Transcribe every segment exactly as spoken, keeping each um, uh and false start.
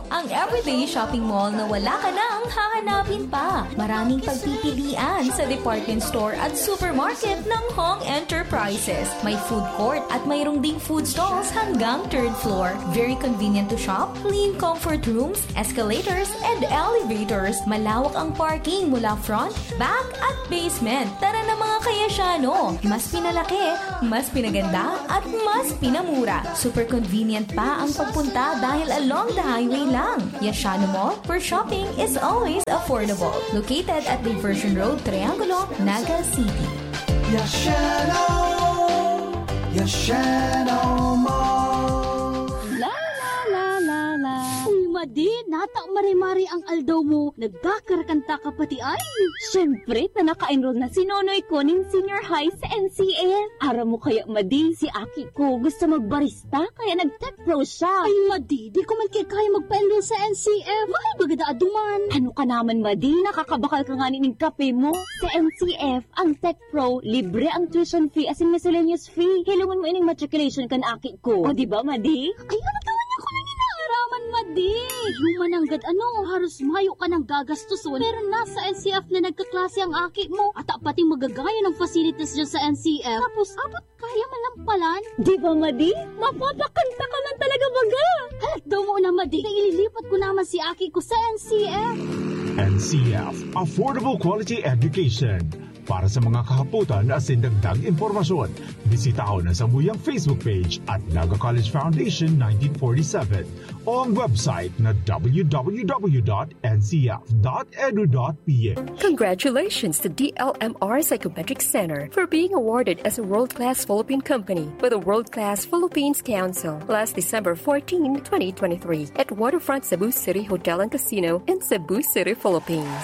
Ang everyday shopping mall na wala ka nang hahanapin pa. Maraming pagpipilian sa department store at supermarket ng Hong Enterprises. May food court at mayroong ding food stalls hanggang third floor. Very convenient to shop, clean comfort rooms, escalators, and elevators. Malawak ang parking mula front, back, at basement. Tara na, mga Kayasyano! Mas pinalaki, mas pinaganda, at mas pinamura. Super convenient pa ang pagpunta dahil along the highway lang. Yasyano Mall, where shopping is always affordable. Located at Diversion Road, Triangulo, Naga City. Yashano! Yashano Mall! La, la, la, la, la. Uy, Madi, nata mare-mare ang aldaw mo. Nagkakarakanta ka pati ay. Siyempre, ta naka-enroll na si Nonoy ko nin senior high sa N C F. Aram mo kaya, Madi, si aki ko gusto magbarista, kaya nag-tech pro siya. Ay, Madi, di ko man kaya kaya magpa-enroll sa N C F. Mahal baga daa duman. Ano ka naman, Madi? Nakakabakal ka nga nin kape mo. Sa N C F, ang tech pro, libre ang tuition fee asin miscellaneous fee. Hilongon mo ining matriculation kan aki ko. O, di ba, Madi? Ay, ano ka man ako nang inaaraman, Madi? Human nanggad ano, haros mayo ka nang gagastoson. Pero nasa N C F na nagkaklase ang aki mo. At pati magagaya ng facilities dyan sa N C F. Tapos, abot kaya malampalan. Di ba, Madi? Mapapakanta ka man talaga baga. Halat daw mo na, Madi. Na ililipat ko naman si aki ko sa N C F. N C F, Affordable Quality Education. Para sa mga kahapotan asin dagdag impormasyon, bisitahon ang samuyang Facebook page at Naga College Foundation nineteen forty-seven o ang website na w w w dot n c f dot edu dot p h. Congratulations to D L M R Psychometric Center for being awarded as a world-class Philippine company by the World Class Philippines Council last December fourteen, twenty twenty-three, at Waterfront Cebu City Hotel and Casino in Cebu City, Philippines.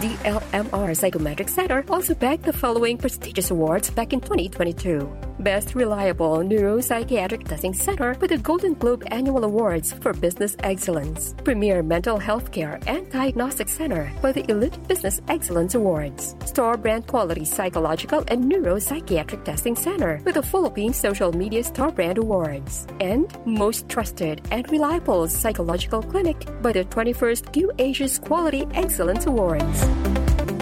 D L M R Psychometric Center also bagged the following prestigious awards back in twenty twenty-two. Best Reliable Neuropsychiatric Testing Center with the Golden Globe Annual Awards for Business Excellence. Premier Mental Health Care and Diagnostic Center for the Elite Business Excellence Awards. Star Brand Quality Psychological and Neuropsychiatric Testing Center with the Philippine Social Media Star Brand Awards. And most trusted and reliable psychological clinic by the twenty-first Q Asia's Quality Excellence Awards.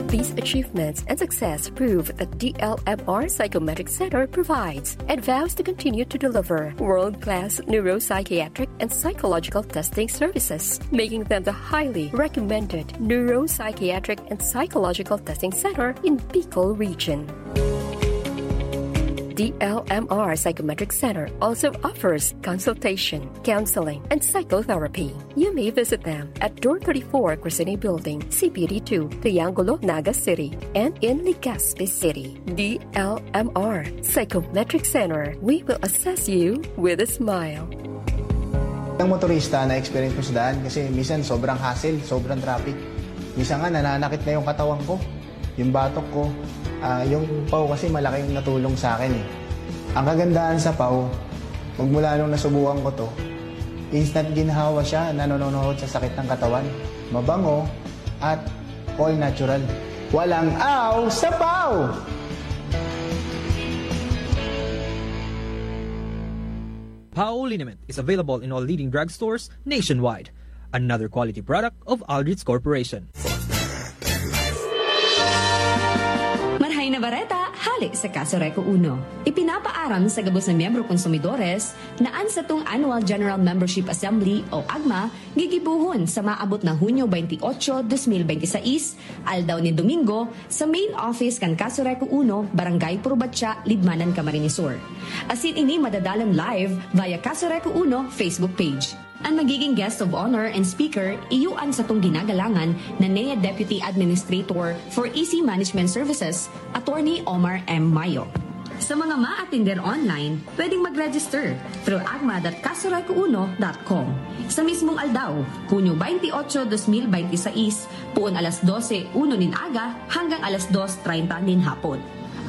These achievements and success prove that D L M R Psychometric Center provides and vows to continue to deliver world-class neuropsychiatric and psychological testing services, making them the highly recommended neuropsychiatric and psychological testing center in Bicol region. D L M R Psychometric Center also offers consultation, counseling, and psychotherapy. You may visit them at Door thirty-four, Crescene Building, C P D two, Triangulo, Naga City, and in Legazpi City. D L M R Psychometric Center, we will assess you with a smile. Ang motorista na experience ko sa daan kasi minsan sobrang hassle, sobrang traffic. Minsan nga nananakit na yung katawan ko, yung batok ko. Ah, yung paw kasi malaking natulong sa akin eh. Ang kagandahan sa paw, magmula nung nasubukan ko to, instant ginhawa siya na nanonohod sa sakit ng katawan. Mabango at all natural. Walang aw sa paw! Pao liniment is available in all leading drugstores nationwide. Another quality product of Aldrich Corporation. Marhay na bareta, hale sa Kaso Reco Uno. Ipinapaaram sa gabos na miyembro konsumidores na an satong Annual General Membership Assembly o AGMA gigibohon sa maabot na Hunyo twenty-eight, twenty twenty-six, aldaw nin Domingo, sa main office kan Kaso Reco Uno, Barangay Purubatya, Libmanan, Camarines Sur. Asin ini madadalan live via Kaso Reco Uno Facebook page. An magiging guest of honor and speaker, iyo an satong ginagalangan na N E A Deputy Administrator for E C Management Services, Attorney Omar M. Mayo. Sa mga maatender online, pwedeng mag-register through agma dot kasoreco uno dot com. Sa mismong aldaw, Hunyo twenty-eight, twenty twenty-six, poon alas dose uno nin aga hanggang alas dos treinta nin hapon.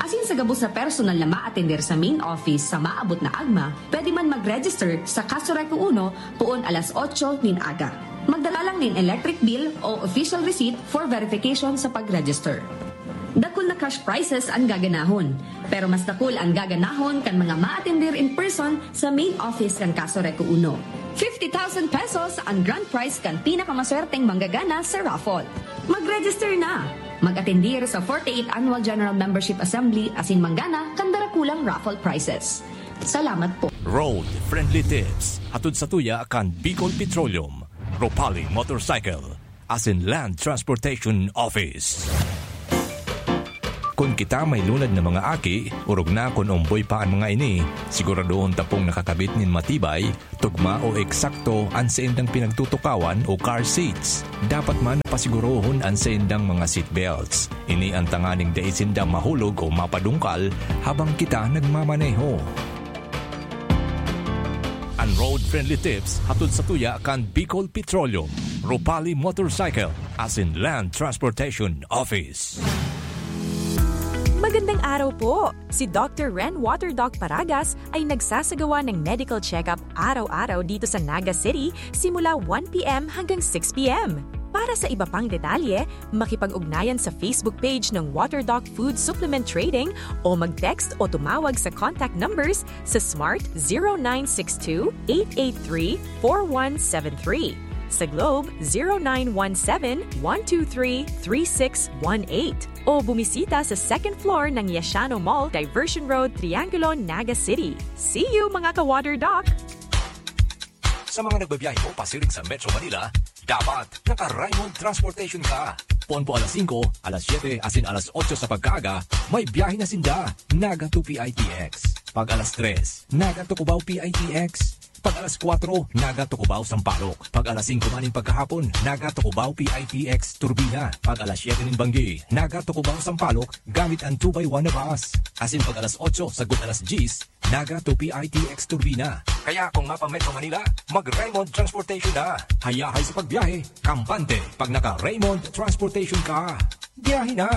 Asin sa gabos na personal na maatender sa main office sa maabot na agma, pwede man mag-register sa Kaso Reco Uno poon alas otso nin aga. Magdala lang nin electric bill o official receipt for verification sa pag-register. Dakul na cash prizes an gaganahon, pero mas dakul an gaganahon kan mga maatender in person sa main office kan Kaso Reco Uno. Fifty thousand pesos an grand prize kan pinakamaswerteng manggagana sa raffle. Mag-register na! Mag-atendir sa forty-eighth Annual General Membership Assembly asin manggana kan darakulang raffle prizes. Salamat po. Road Friendly Tips, hatod sa tuya kan Bicol Petroleum, Ropali Motorcycle, asin Land Transportation Office. Kun kita may lunad na mga aki, orog na kun omboy pa an mga ini, siguradohon ta pong nakakabit nin matibay, tugma o eksakto an saindang pinagtutukawan o car seats. Dapat man na pasigurohon an saindang mga seat belts. Ini an tanganing dai sinda mahulog o mapadungkal habang kita nagmamaneho. An Road Friendly Tips hatod sa tuya kan Bicol Petroleum, Ropali Motorcycle, asin Land Transportation Office. Magandang araw po! Si Doctor Ren Water Doc Paragas ay nagsasagawa ng medical check-up araw-araw dito sa Naga City simula one p m hanggang six p m. Para sa iba pang detalye, makipag-ugnayan sa Facebook page ng Water Doc Food Supplement Trading o mag-text o tumawag sa contact numbers sa Smart zero nine six two, eight eight three, four one seven three, sa Globe zero nine one seven, one two three, three six one eight, o bumisita sa second floor ng Yashano Mall, Diversion Road, Triangulo, Naga City. See you, mga ka-Water Doc! Sa mga nagbabiyahe po pasiring sa Metro Manila, dapat naka-Raymond Transportation ka. Poon po alas singko, alas siyete, asin alas otso sa pagkaaga, may biyahe na sinda. Naga to P I T X. Pag alas tres, Naga to Cubao P I T X. Pag alas kwatro, Naga to Cubao Sampaloc. Pag alas singko man nin pagkahapon, Naga to Cubao P I T X Turbina. Pag alas siyete nin banggi, Naga to Cubao Sampaloc, gamit an two by one na bus. Asin pag alas otso sagkod alas dyes, Naga to P I T X Turbina. Kaya kung mapa-Metro Manila, mag-Raymond Transportation na. Hayahay sa pagbiyahe, kampante pag naka-Raymond Transportation ka. Biyahe na!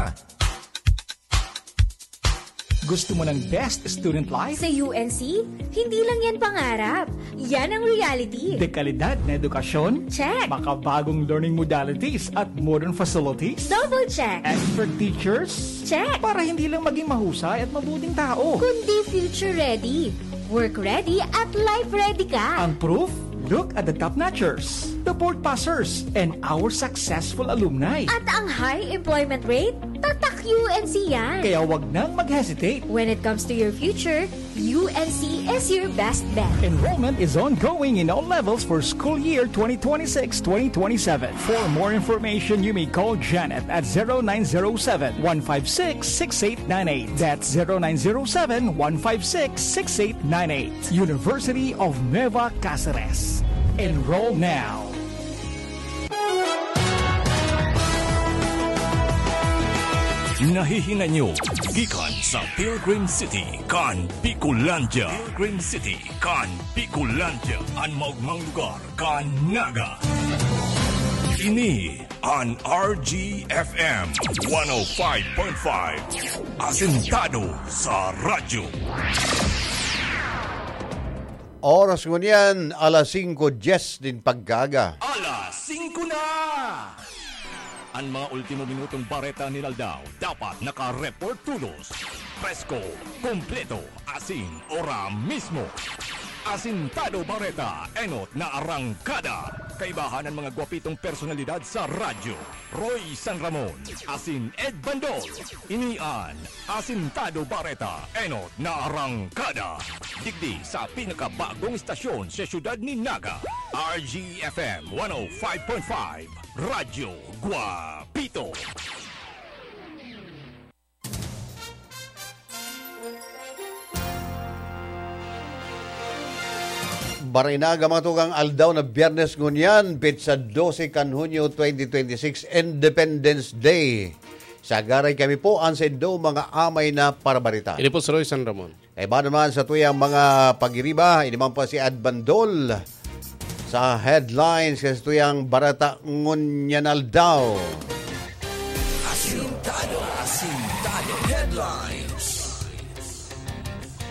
Gusto mo ng best student life? Sa U N C, hindi lang yan pangarap. Yan ang reality. Dekalidad na edukasyon? Check. Makabagong learning modalities at modern facilities? Double check. Expert teachers? Check. Para hindi lang maging mahusay at mabuting tao. Kundi future ready, work ready at life ready ka. Ang proof? Look at the top notchers, the board passers, and our successful alumni. At ang high employment rate? Tatak U N C yan. Kaya wag nang mag-hesitate. When it comes to your future, U N C is your best bet. Enrollment is ongoing in all levels for school year twenty twenty-six twenty twenty-seven. For more information, you may call Janet at zero nine zero seven, one five six, six eight nine eight. That's zero nine zero seven, one five six, six eight nine eight. University of Nueva Cáceres. Enroll now. Nahihinay nyo gikan sa Pilgrim City kan Bicolandia. Pilgrim City kan Bicolandia, an maogmang lugar kan Naga. Ini an R G F M one oh five point five, asentado sa radyo. Oras ngunyan, alas singko dyes nin pagkaaga. Alas singko na! An mga ultimo minutong bareta nin aldaw dapat naka-report tolos, presko, kompleto, asin ora mismo. Asintado Bareta, enot na arangkada. Kaibahan an mga gwapitong personalidad sa radyo. Roy San Ramon, asin Ed Bandol. Ini an Asintado Bareta, enot na arangkada. Digdi sa pinakabagong estasyon sa siyudad nin Naga, R G F M one oh five point five, Radyo Guapito. Barinaga, mga tugang, aldaw na Biyernes ngunyan, petsa dose kan Hunyo twenty twenty-six, Independence Day. Sagaray kami po an saindo mga amay na parabarita. Ini po si Roy San Ramon. Kaiba naman sa tuyang mga pagiriba, ini man po si Ed Bandol sa headlines kan sa tuyang bareta ngunyan aldaw. Asintado, asintado headlines.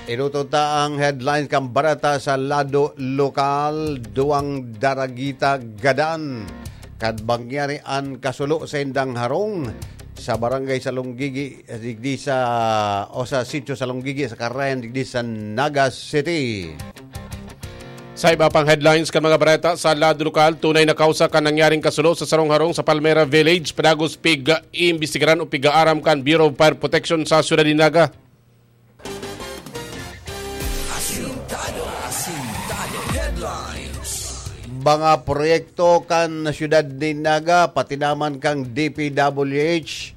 Irutot ta ang headlines kan bareta sa lado lokal, duwang daragita gadan. Kan mangyari an kasulo sa indang harong sa barangay Salonggigi, digdi sa, o sa sitio Salonggigi, sa Carayan, digdi sa Naga City. Sa iba pang headlines kan mga bareta sa lado lokal, tunay na kausa kan nangyaring kasulo sa sarong harong sa Palmera Village, padagos pig-iimbestigaran o pig-aaram kan Bureau of Fire Protection sa siyudad ni Naga. Asintado, asintado headlines. Mga proyekto kan siyudad ni Naga, pati naman kang D P W H,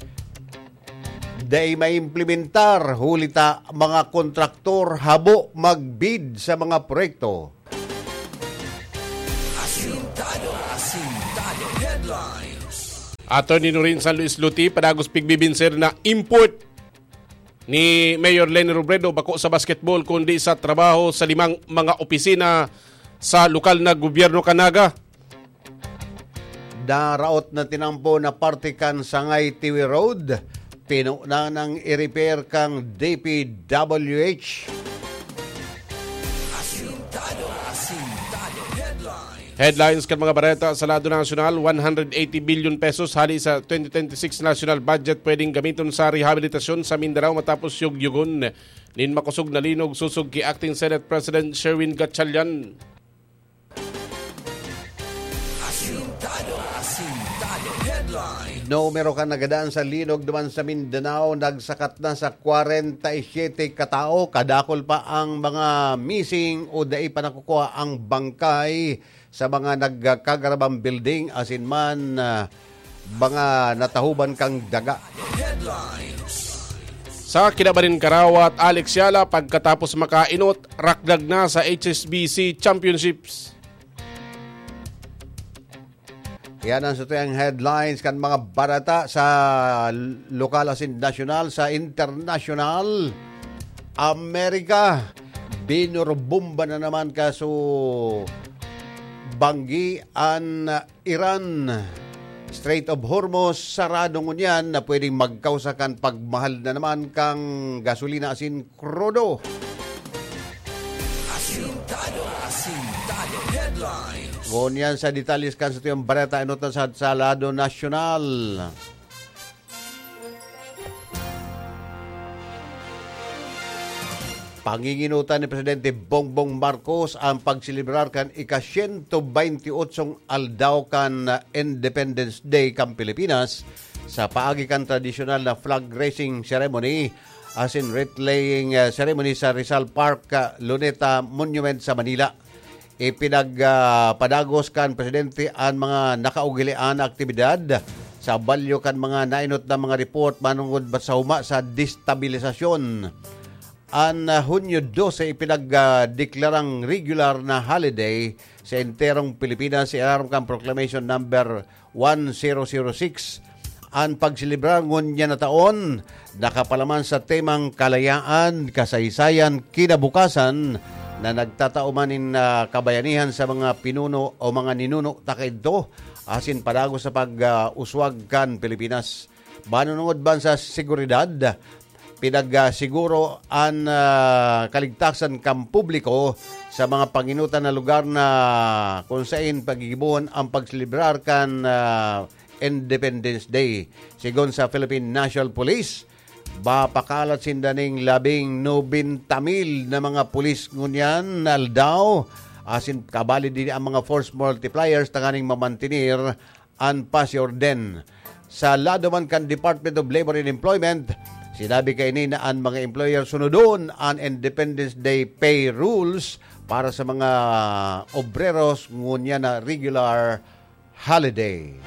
dai maimplementar, huli ta mga kontraktor habo magbid sa mga proyekto. Asintado, asintado headlines. Attorney Norin San Luis Luti, padagos pigbibinsir na import ni Mayor Leni Robredo bako sa basketball kundi sa trabaho sa limang mga opisina sa lokal na gobyerno kan Naga. Naraot na tinampo na parte kan Sangay Tiwi Road, pinunan ang i-repair kang D P W H. Asintado, asintado headlines. Headlines kan mga bareta sa lado nasyonal, one hundred eighty billion pesos hali sa twenty twenty-six national budget pwedeng gamiton sa rehabilitasyon sa Mindanao matapos yugyugon nin makosog na linog, sosog ki Acting Senate President Sherwin Gatchalian. Asintado, asintado headline. Numero kan nagadaan sa linog duman sa Mindanao nagsakat na sa kwarenta y siyete ka tawo. Kadakul pa ang mga missing o dai pa nakukuha ang bangkay sa mga nagkagarabang building asin man, ah, mga natahuban kang daga. Headlines. Sa kinaban nin karawat, Alex Yala, pagkatapos makainot, rakdag na sa H S B C Championships. Yan ang satuyang headlines kan mga bareta sa lokal asin nasyonal. Sa internasyonal, Amerika, binurbomba na naman kaso banggi an Iran. Strait of Hormuz sarado ngunyan na pwedeng magkausa kan pagmahal na naman kan gasolina asin krudo. Asintado, asintado headlines. Ngunyan sa detalye kan satuyang bareta, enot na sa, sa lado nasyonal. Panginginutan ni Presidente Bongbong Marcos ang pagselebrar kan ika-siyento baynti otsong aldaw kan Independence Day kan Pilipinas sa paagi kan tradisyonal na flag raising ceremony asin wreath-laying, ah, ceremony sa Rizal Park, ah, Luneta Monument sa Manila. Ipinagpadagos kan presidente an mga nakaugilian na aktibidad sa balyo kan mga nainot na mga report manungod sa huma sa destabilisasyon. An, ah, Hunyo dose ipinagdeklarang regular na holiday sa enterong Pilipinas sa ilarom kan Proclamation Number one zero zero six. An pagselebrar ngunyan na taon nakapalaman sa temang kalayaan, kasaysayan, kinabukasan na nagtatao man nin, ah, kabayanihan sa mga pinuno o mga ninuno ta kaidto, asin padagos sa pag-uswag kan Pilipinas. Manunungod man sa seguridad, pinagsiguro an, ah, kaligtasan kan publiko sa mga panginutan na lugar na kung sain pagigibohon ang pagselebrar kan, ah, Independence Day. Sigon sa Philippine National Police, mapakalat sinda ning labing nobenta mil na mga pulis ngunyan na aldaw, asin kabali din ang mga force multipliers tanganing mamantener an paz y orden. Sa lado man kan Department of Labor and Employment, sinabi kaini na an mga employer sunodon an Independence Day pay rules para sa mga obreros ngunyan na regular holiday.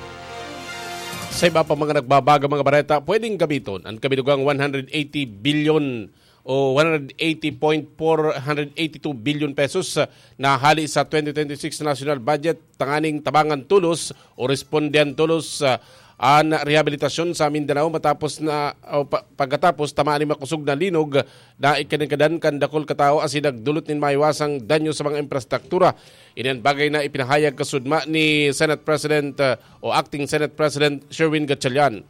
Sa iba pa mga nagbabaga mga bareta, pwedeng gamiton an kabinugang one hundred eighty billion o one hundred eighty point four hundred eighty two billion pesos, ah, na hali sa twenty twenty-six national budget tanganing tabangan tolos o respondihan tolos, ah, an rehabilitasyon sa Mindanao matapos na, o pa, pagkatapos tamaan nin makosog na linog na ikinagadan kan dakul ka tawo asin nagdulot nin maiwasang danyo sa mga infrastruktura. Ini an bagay na ipinahayag kasudma ni Senate President, ah, o Acting Senate President Sherwin Gatchalian.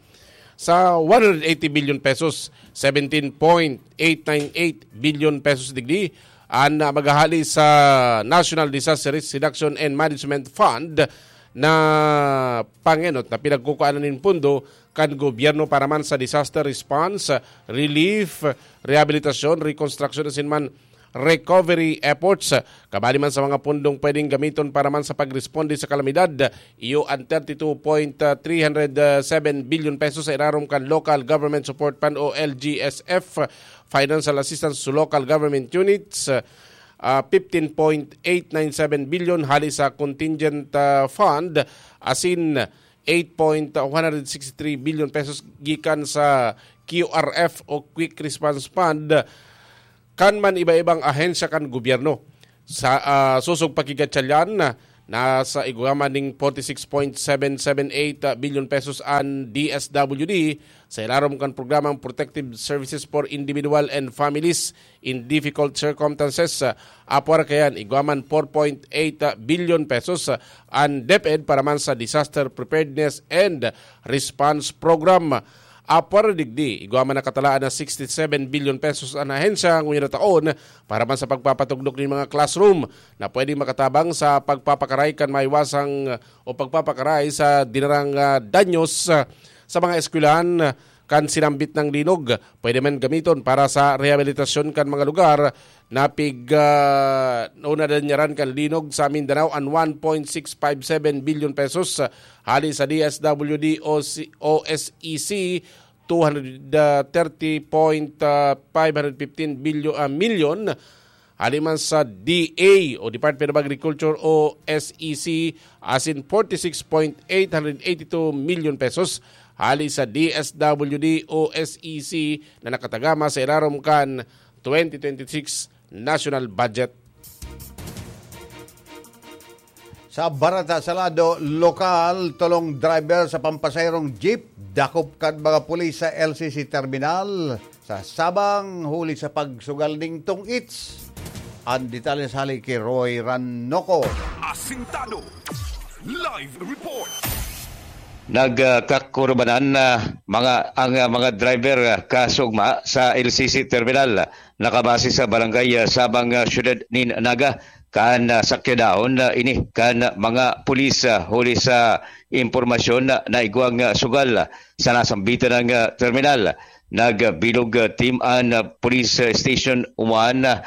Sa one hundred eighty billion pesos, seventeen point eight nine eight billion pesos digdi an, ah, maghahali sa National Disaster Risk Reduction and Management Fund na pangenot na pinagkukuanan nin pondo kan gobyerno para man sa disaster response, relief, rehabilitasyon, rekonstruksyon asin man recovery efforts. Kabali man sa mga pundong pwedeng gamiton para man sa pagresponde sa kalamidad, iyo an thirty-two point three hundred seven billion pesos sa irarom kan Local Government Support Fund o L G S F, Financial Assistance to Local Government Units, ah, fifteen point eight nine seven billion hali sa contingent, ah, fund, asin eight point one six three billion pesos gikan sa Q R F o Quick Response Fund. Kan man iba-ibang ahensya kan gobyerno. Sa, ah, sosog pa ki Gatchalian, nasa igwa man ning forty-six point seven seven eight billion pesos an D S W D sa ilarom kan programang Protective Services for Individual and Families in Difficult Circumstances. Apwar kayan, igwa man four point eight billion pesos an DepEd para man sa Disaster Preparedness and Response Program. Apwar digdi, igwa man nakatalaan na sixty-seven billion pesos an ahensya ngunyan na taon para man sa pagpapatugdok nin mga classroom na pwedeng makatabang sa pagpapakaray kan maiwasang o pagpapakaray sa dinarang, ah, danyos, ah, sa mga eskwelahan kan sinambit ng linog. Pwede man gamiton para sa rehabilitasyon kan mga lugar na pig, ah, o nadanyaran kan linog sa Mindanao an one point six five seven billion pesos, ah, hali sa D S W D o si, O S E C, two hundred thirty point five hundred fifteen billion, ah, milyon, hali man sa D A o Department of Agriculture o S E C, asin forty-six point eight hundred eighty-two million pesos hali sa D S W D o S E C na nakatagama sa ilarom kan twenty twenty-six national budget. Sa barata sa lado lokal, tolong driver sa pampasaherong jeep dakop kan mga pulis sa L C C terminal sa Sabang huli sa pagsugal ning tong-its. An detalye sa hali ki Roy Ranoco. Asintado. Live report. Nagkakurbanan na mga, ang, ah, mga driver, ah, kasugma sa L C C terminal. Nakabase sa barangay, ah, Sabang, ah, Siyudad nin Naga, kan, ah, sakyadahon, ah, ini kan mga pulis, ah, huli sa impormasyon na naigwang, ah, sugal, ah, sa nasambitan ng, ah, terminal. Nagbilog, ah, team an, ah, Police, ah, Station one, ah,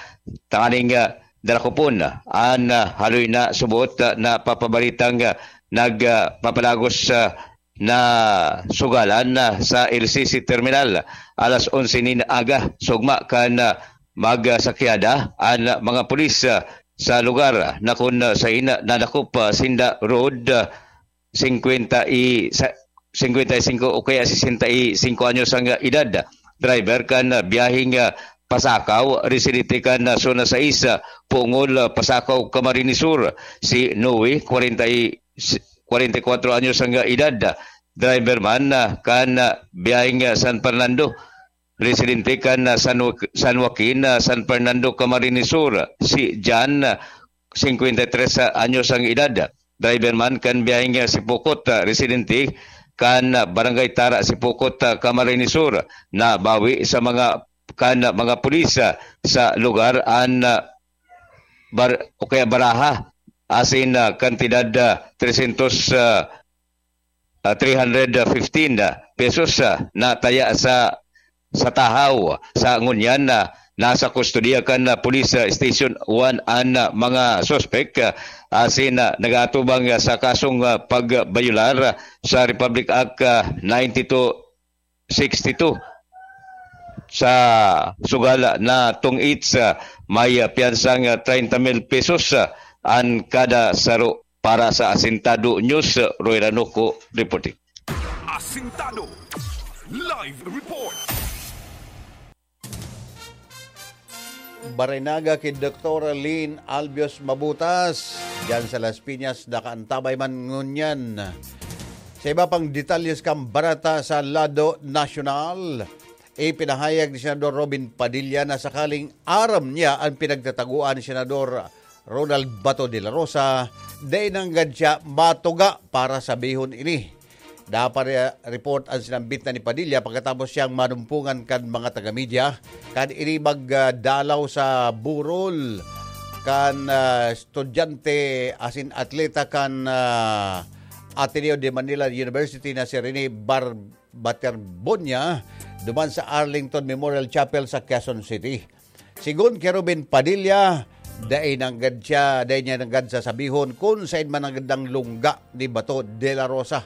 tanganing, ah, darakupon, ah, an, ah, haloy na subot, ah, na papabalitang, ah, nag, ah, papalagos, ah, na sugalan, ah, sa L C C terminal. Alas onse nin aga, sugma kan, ah, magsakyada an mga pulis, ah, sa lugar na kun sain nadakop, ah, sinda road, ah, singkwenta y sa, singkwenta y singko o kaya sesenta y singko anyos ang edad. Driver kan, ah, biyaheng, ah, Pasakaw, residente kan, ah, Zona sais, ah, Pungol, ah, Pasakaw, Camarines Sur. Si Noe, kwarenta y, kwarenta y kwatro anyos ang edad. Driver man, ah, kan, ah, biyaheng, ah, San Fernando. Residente kan, ah, San Joaquin, ah, San Fernando, Camarines Sur. Si Jan, ah, singkwenta y tres anyos ang edad. Driver man kan biyaheng, ah, Sipocot, ah, residente kan, ah, Barangay Tara, Sipocot, ah, Camarines Sur, nabawi sa mga, kan, ah, mga pulis, ah, sa lugar an, ah, bar-, o kaya baraha, asin, ah, kantidad, ah, tresyentos, ah, ah, three hundred fifteen pesos, ah, na taya sa, sa tahaw. Sa ngunyan na nasa kustodiya kan, ah, Police, ah, Station one an, ah, mga suspek, ah, asin, ah, nag-aatubang, ah, sa kasong, ah, pagbayolar, ah, sa Republic Act, ah, ninety-two sixty-two. Sa sugal na tong-its, ah, may, ah, piyansang, ah, treinta mil pesos, ah, an kada saro. Para sa Asintado News, Roy Ranoco reporting. Asintado Live Report. Barinaga ki Doktor Lynn Albios Mabutas, diyan sa Las Piñas, nakaantabay man ngunyan. Sa iba pang detalyes kan barata sa lado nasyonal, ipinahayag ni Senador Robin Padilla na sakaling aram niya an pinagtataguan ni Senador Ronald Bato de la Rosa, dai nanggad siya matuga para sabihon ini. Dapat re-, report an sinambit na ni Padilla pagkatapos siyang manumpungan kan mga taga-media kan ini magdalaw sa burol kan, ah, estudyante asin atleta kan, ah, Ateneo de Manila University na si Rene Bar-, Baterbonia duman sa Arlington Memorial Chapel sa Quezon City. Sigon ki Ruben Padilla, dai nanggad siya, dai niya nanggad sasabihon kun saen man nanggad an lungga ni Bato de la Rosa.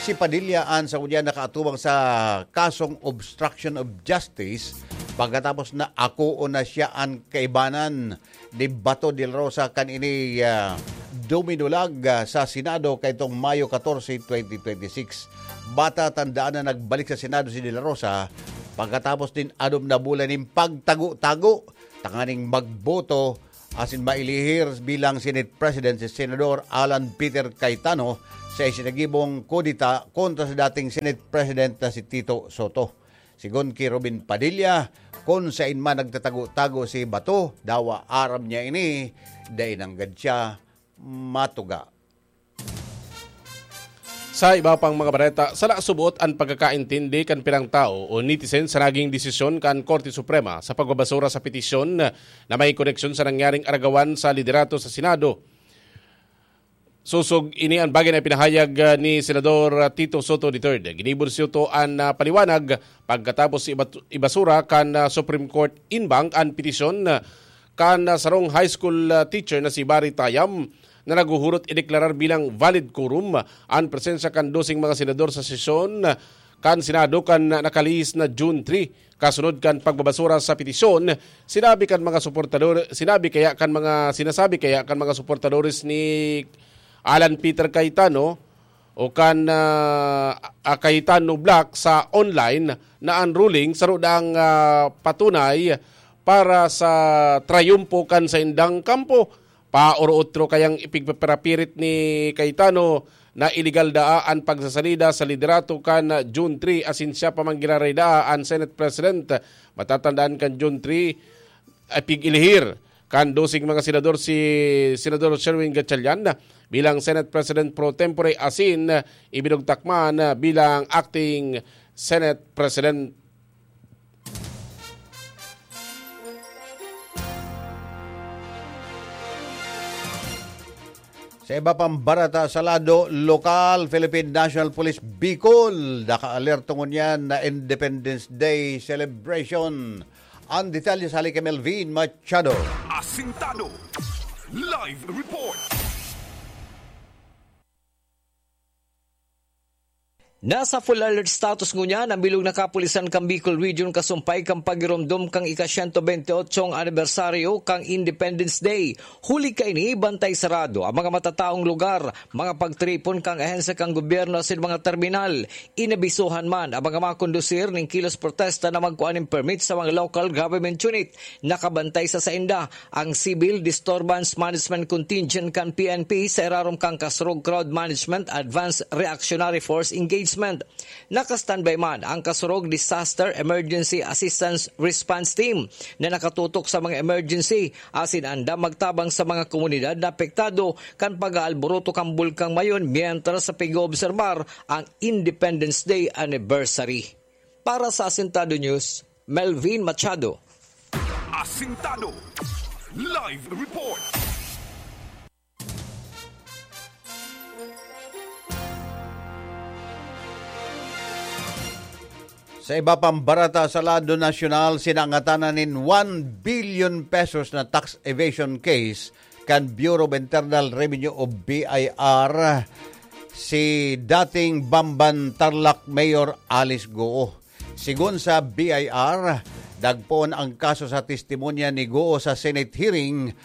Si Padilla an sa unya nakaatubang sa kasong obstruction of justice pagkatapos na akoon na siya an kaibanan ni Bato de la Rosa kan ini, ah, duminulag, ah, sa Senado kaitong Mayo katorse, twenty twenty-six. Matatandaan na nagbalik sa Senado si de la Rosa pagkatapos nin anom na bulan nin pagtago-tago tanganing magboto asin mailihir bilang Senate President si Senador Alan Peter Cayetano sa isinagibong kudeta kontra sa dating Senate President na si Tito Soto. Sigon ki Robin Padilla, kun saen man nagtatago-tago si Bato, dawa aram niya ini, dai nanggad siya matuga. Sa iba pang mga bareta, sala subot an pagkakaintindi kan pirang tawo o netizen sa naging desisyon kan Korte Suprema sa pagbabasura sa petisyon na may koneksyon sa nangyaring aragawan sa liderato sa Senado. Sosog ini an bagay na ipinahayag, ah, ni Senador, ah, Tito Soto the third. Ginibo ni Soto an, ah, paliwanag pagkatapos ibat-, ibasura kan, ah, Supreme Court en banc an petisyon, ah, kan, ah, sarong high school, ah, teacher na si Barry Tayam na naghuhurot ideklarar bilang valid quorum an presensya kan doseng mga senador sa sesyon, ah, kan Senado kan, ah, nakalihis na June three. Kasunod kan pagbabasura sa petisyon, sinabi kan mga suportador, sinabi kaya kan mga, sinasabi kaya kan mga suportadores ni Alan Peter Cayetano o kan, ah, ah, Cayetano Bloc sa online na an ruling saro daang, ah, patunay para sa trayumpo kan saindang kampo. Paoro-otro kayang ipigpaparapirit ni Cayetano na iligal daa an pagsasalida sa liderato kan June three asin siya pa man giraray daa an Senate President. Matatandaan kan June three, ay pig-ilihir kan doseng mga senador si Senador Sherwin Gatchalian bilang Senate President pro tempore asin ibinugtak man bilang acting Senate President. Sa iba pang barata sa lado lokal, Philippine National Police Bicol, naka-alerto ngunyan na Independence Day celebration. Ang detalye sa hali kay Melvin Machado. Asintado. Live report. Nasa full alert status ngunyan an bilog na kapulisan kan Bicol Region kasumpay kan pagiromdom kan ika-siyento bente otsong anibersaryo kan Independence Day. Huli kaini, bantay sarado an mga matataong lugar, mga pagtiripon kan ahensya kan gobyerno asin mga terminal. Inabisohan man an mga makondusir nin kilos protesta na magkua nin permit sa mga local government unit. Nakabantay sa sainda ang Civil Disturbance Management Contingent kan P N P sa irarom kan Kasurog Crowd Management Advanced Reactionary Force Engagement. Naka-standby man ang Kasurog Disaster Emergency Assistance Response Team na nakatutok sa mga emergency asin andam magtabang sa mga komunidad na apektado kan pag-aalboroto kan Bulkang Mayon mientras sa pig-oobserbar ang Independence Day Anniversary. Para sa Asintado News, Melvin Machado. Asintado. Live report. Sa iba pang barata sa lado nasyonal, sinangatanan nin one billion pesos na tax evasion case kan Bureau of Internal Revenue o B I R si dating Bamban Tarlac Mayor Alice Goo. Sigon sa B I R, nagpoon ang kaso sa testimonya ni Goo sa Senate hearing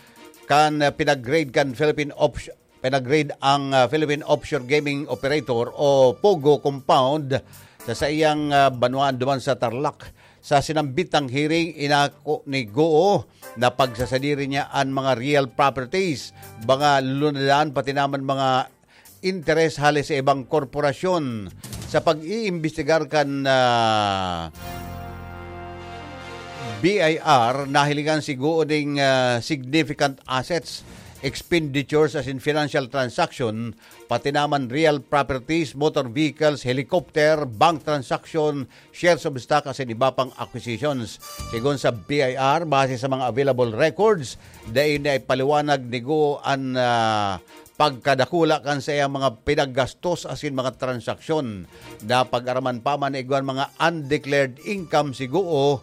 kan, ah, pinag-raid kan Philippine Offsh-, pinag-raid ang, ah, Philippine Offshore Gaming Operator o POGO compound sa saiyang, ah, banwaan duman sa Tarlac. Sa sinambitang hearing, inako ni Goo na pagsasadiri niya an mga real properties, mga lunadaan, pati naman mga interes hale sa ibang korporasyon. Sa pag-iimbestigar kan, ah, B I R, nahilingan si Goo ning, ah, significant assets, expenditures as in financial transaction, pati naman real properties, motor vehicles, helicopter, bank transaction, shares of stock asin iba pang acquisitions. Sigon sa B I R, base sa mga available records, dai na ipaliwanag ni Goo an, ah, pagkadakula kan saiyang mga pinaggastos asin mga transaksyon. Napag-araman pa man na igwang mga undeclared income si Goo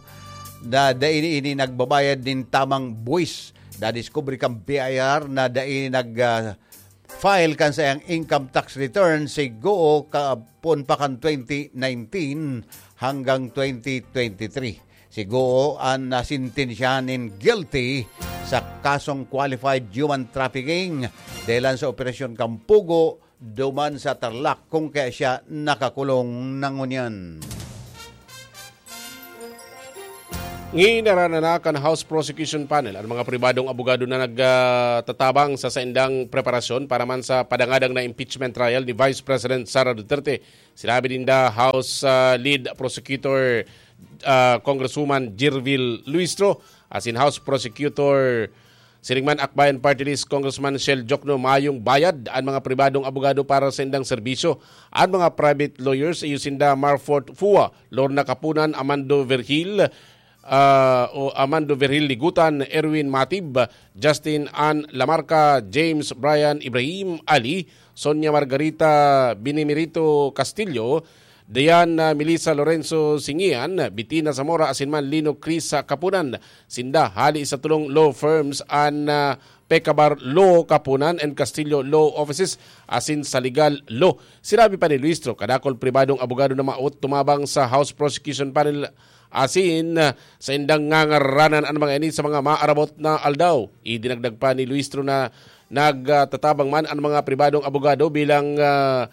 na dai ini nagbabayad nin tamang buwis. Nadiskubre kan B I R na dai nag, ah, file kan saiyang income tax return si Guo kapon pa kan twenty nineteen hanggang twenty twenty-three. Si Guo an nasintensyahan nin guilty sa kasong qualified human trafficking dahilan sa operasyon kan Pugo duman sa Tarlac, kung kaya siya nakakulong na ngunyan. Nginarana na kan House Prosecution Panel an mga pribadong abogado na nagtatabang sa saindang preparasyon para man sa padangadang na impeachment trial ni Vice President Sara Duterte. Sinabi ninda House, ah, Lead Prosecutor, ah, Congresswoman Jirvil Luistro, asin House Prosecutor siring man Akbayan Party List Congressman Shell Jokno, mayong bayad an mga pribadong abogado para sa indang serbisyo. An mga private lawyers, iyo sinda Marfort Fua, Lorna Kapunan, Amando Vergil, ah, o Amando Vergil Ligutan, Erwin Matib, Justin Ann Lamarca, James Brian Ibrahim Ali, Sonia Margarita Binimirito Castillo, Diana Melissa Lorenzo Singian, Bitina Zamora asin man Lino Chris Kapunan. Sinda hali sa tulong law firms an, ah, Pecabar Law Kapunan and Castillo Law Offices asin sa Legal Law. Sinabi pa ni Luistro, kadakul pribadong abogado na maot tumabang sa House Prosecution Panel asin, ah, saindang ngangaranan an mga ini sa mga maarabot na aldaw. Idinagdag pa ni Luistro na nagtatabang man an mga pribadong abogado bilang, ah,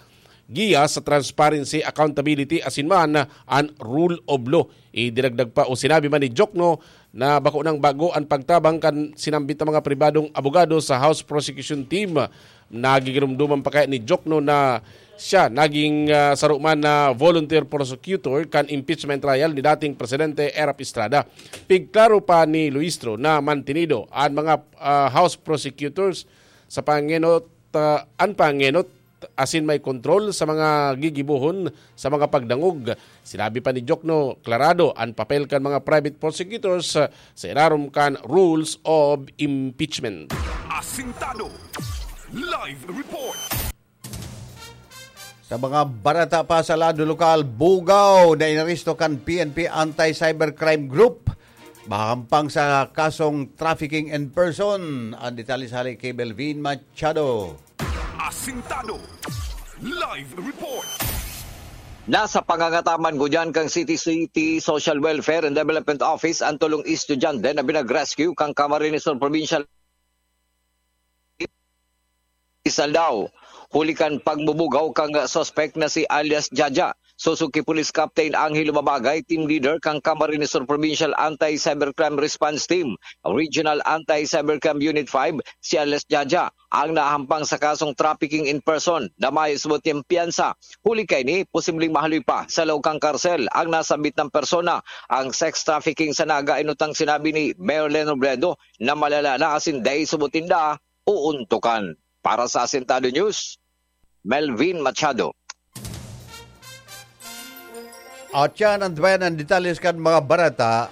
giya sa transparency, accountability asin man an rule of law. Idinagdag pa o sinabi man ni Jokno na bako nang bago an pagtabang kan sinambit na mga pribadong abogado sa House Prosecution Team. Nagigirumduman pa kaya ni Jokno na siya naging, ah, saro man na volunteer prosecutor kan impeachment trial ni dating Presidente Erap Estrada. Pigklaro pa ni Luistro na mantinido an mga, ah, House prosecutors sa pangenot, ah, an pangenot asin may kontrol sa mga gigibohon sa mga pagdangog. Sinabi pa ni Jokno, klarado an papel kan mga private prosecutors, ah, sa irarom kan rules of impeachment. Asintado. Live report. Sa mga barata pa sa lado lokal, bugaw na inaresto kan P N P Anti-Cybercrime Group mahampang sa kasong trafficking in person. Ang detalye sa hali kay Belvin Machado. Asintado. Live report. Nasa pangangataman ngunyan kan City City Social Welfare and Development Office an tolong estudyante na binag-rescue kan Camarines Sur Provincial Isaldao. Huli kan pagbubugaw kan suspek na si alias Jaja, susuki Police Captain Angelo Babagay, team leader kan Camarines Sur Provincial Anti-Cybercrime Response Team, Regional Anti-Cybercrime Unit five, si alias Jaja, ang nahampang sa kasong trafficking in person na may subot niyang piyansa. Huli kaini, posibleng mahaloy pa sa laog kan karsel ang nasambit na persona. Ang sex trafficking sana gainutang sinabi ni Mayor Leno Robredo na malala na asin dai subot ninda uuntukan. Para sa Asintado News, Melvin Machado. At yan ang tabayan ng detalye kan mga barata.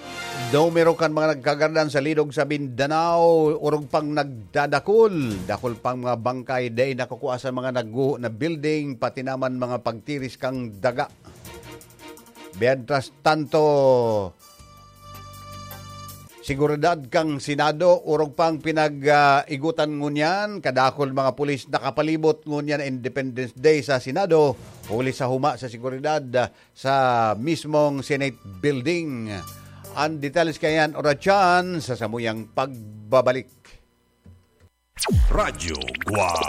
Numero kan mga nagkagaradan sa Lidog sa Mindanao, orog pang nagdadakul. Dakul pang mga bangkay, dai nakukua sa mga nagguho na building, pati naman mga pagtiris kang daga. Mientras tanto, seguridad kan Senado, orog pang pinag-igutan ngunyan, kadakul mga pulis nakapalibot ngunyan Independence Day sa Senado, huli sa huma sa seguridad, ah, sa mismong Senate Building. Ang detalye kayan, oras yan, sa samuyang pagbabalik. Radyo Guwang.